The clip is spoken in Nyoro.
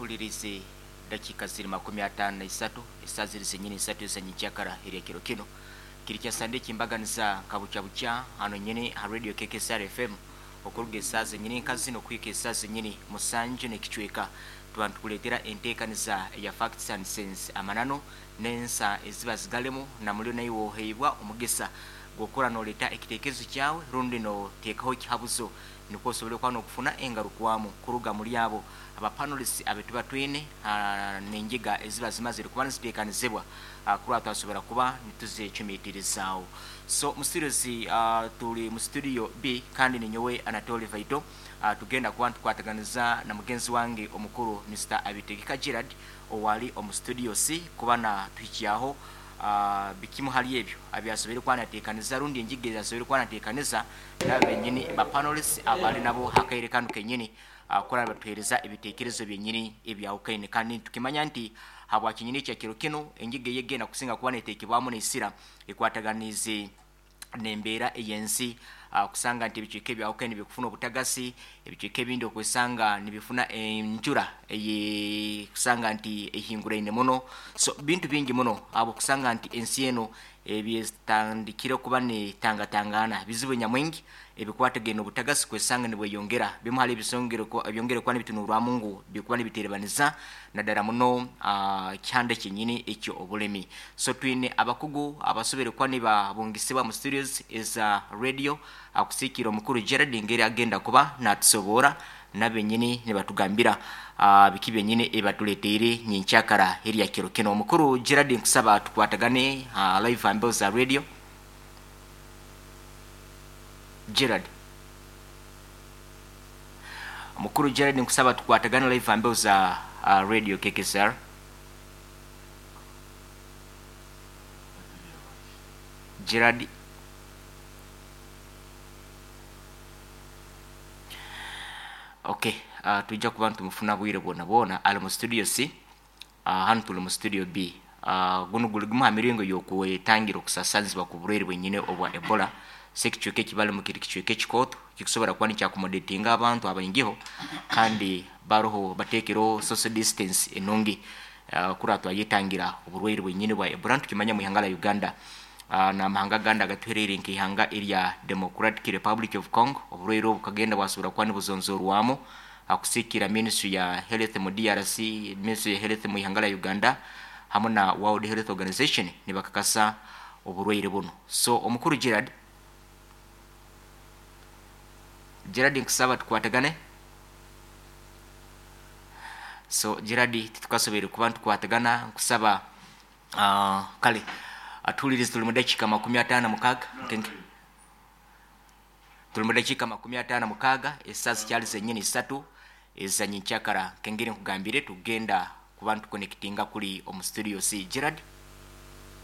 Tuhulirize dakiika ziri 53, esaa ziri zenyini 3 ezanyenkyakara erya kiro kino. Kiri kya Sande ekimbaganiza nka bukya bukya hano nyini ha Radio KKSR FM okuruga esaa zenyini nka zino kuhika esaa zenyini 7 n'ekicweka. Tuba nitukuleetera enteekaniza eya Facts and Sense, amananu n'ensa eziba zigalemu, na mulyo naiwe oheibwa omugisa gw'okukora noleeta ekiteekerezo kyawe rundi noteekaho ekihabuzo nukwo osobole kuba nokufuna engarukwamu kuruga muli abo aba panelists abetuba twine n'engiga eziba zimazire kuba niziteekanizibwa kurora twasobora kuba nituzecumiitirizaaho. So mu studios tuli mu studio B kandi ninyowe Anatoli Vaito, tugenda kuba nitukwataganiza na mugenzi wange omukuru Mr. Abitegeka Gerard owali omu studio C kuba natuhikyaho bikimu hali ebyo abyasoboire kuba nateekaniza rundi engiga ezasoboire kuba nateekaniza nabo benyini ba panelists abali nabo hakaire kanu kenyini kurora nibatuheereza ebiteekerezo byenyini ebyahukaine. Kandi nitukimanya nti habwa kinyini ekya kiro kinu engiga eyegenda kusinga kuba neteekebwamu n'esira ekwataganiize n'embeera ey'ensi, kusanga nti ebicweka ebyahukaine bikufuna obutagasi, ebicweka ebindi okwesanga nibifuna enjura eyekusanga nti ehinguraine muno. So bintu bingi muno habw'okusanga nti ensi enu ebyetandikire kuba netangatangaana bizibu nyamwingi ebikwatagaine n'obutagasi kwesanga nibweyongera. Bimu hali ebyongere kuba nibitunurwamu ngu bikuba nibiterebaniza naddala muno ekihanda kyenyini eky'obulemi. So twine abakugu abasobere kuba nibabungisibwa mu studios eza radio akusiikira omukuru Gerard ngeri agenda kuba natusoboora nabenyini nibatugambira biki byenyini ebatuleteire nyenkyakara erya kiro kino. Omukuru Gerard, nkusaba tukwatagane live ha mbeho za radio. Gerard, Mukuru Gerard, nkusaba tukwatagane live ha mbeho za radio KKSR. Gerard, okay, tujja kuba nitumufuna bwire bwona bwona ali mu studio C, hanu tuli mu studio B. Gunu guli gumu ha miringo y'okwetangira okusasanizibwa kw'oburwaire bwenyini obwa Ebola. So ekicweka ekibalimu kiri kicweka ekikooto kikusobora kuba nikyakomodatinga abantu abaingiho kandi baroho bateekereho social distance enungi kurora twayetangira oburwaire bwenyini bwa Ebola. Nitukimanya mu ihanga lya Uganda n'amahanga agandi agatuhereire nk'ihanga erya Democratic Republic of Congo, oburwaire obu bukagenda bwasobora kuba nibuzonzorwamu akusiikira Ministry ya Health mu DRC, Ministry ya Health mu ihanga lya Uganda hamu na World Health Organization nibakakasa oburwaire bunu. So omukuru Gerard, Gerard nkusaba tukwatagane. So Gerard titukasoboire kuba nitukwatagana, nkusaba kale atuhulirize tuli mu dakiika 56 nkenke tuli mu dakiika 56 esaa zikyali zenyini 3 ezanyenkyakara nkengeri nkugambire tugenda kuba nitukonekitinga kuli omu studio C. Gerard,